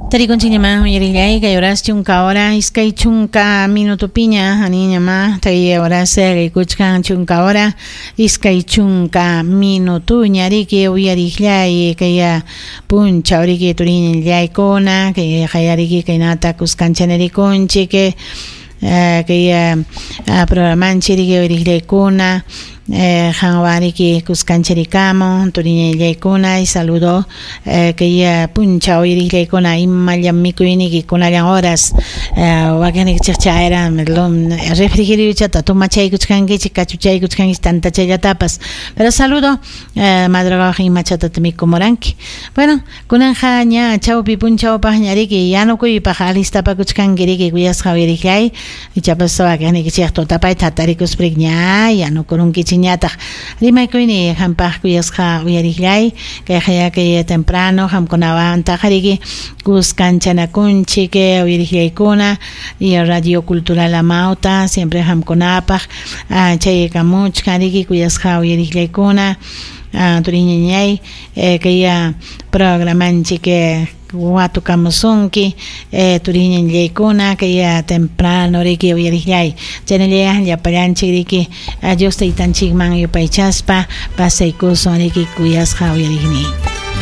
Tarikunchikñamá uyarillay kay horas chunka hora iskay chunka minutupiña aniñamá kay horas rikuchkan chunka hora iskay chunka minutuña riki uyarillay kay punchaw riki turiñallaykuna kay qayariki kaynata kuskanchanikunchik kay programanchik riki uyarillaykuna qanwan riki kuskanchirikamun turiñallaykuna y saludo kay punchaw uyarillaykuna imallam mikuyniki kunallan horas wakinnikichik chayra refrigeriochata tomachaykuchkankichik kachuchaykuchkankichik tantachallatapas pero saludo madrugawaq imachatata mikumuranki bueno kunanja ña chawpi punchawpaqña riki yanukuypaq alistapakuchkanki riki kuyasqa uyarillay ichapas wakinnikichik tutapayta hatarikuspa riki ña yanukurunkichikñataq rimaykuyni qampaq kuyasqa uyarillay kayqa kay temprano qamkunawantaq riki kuskanchanakunchik uyarillaykuna y Radio Cultural Amauta siempre qamkunapaq chaykamuchkan riki kuyasqa uyarillaykuna turiñañay kay programanchik watukamusunki turiñañaykuna kay temprano riki uyarillay chaynalla llapallanchik riki Dios taytanchikman yupaychaspa pasaykusun riki kuyasqa uyariqniy.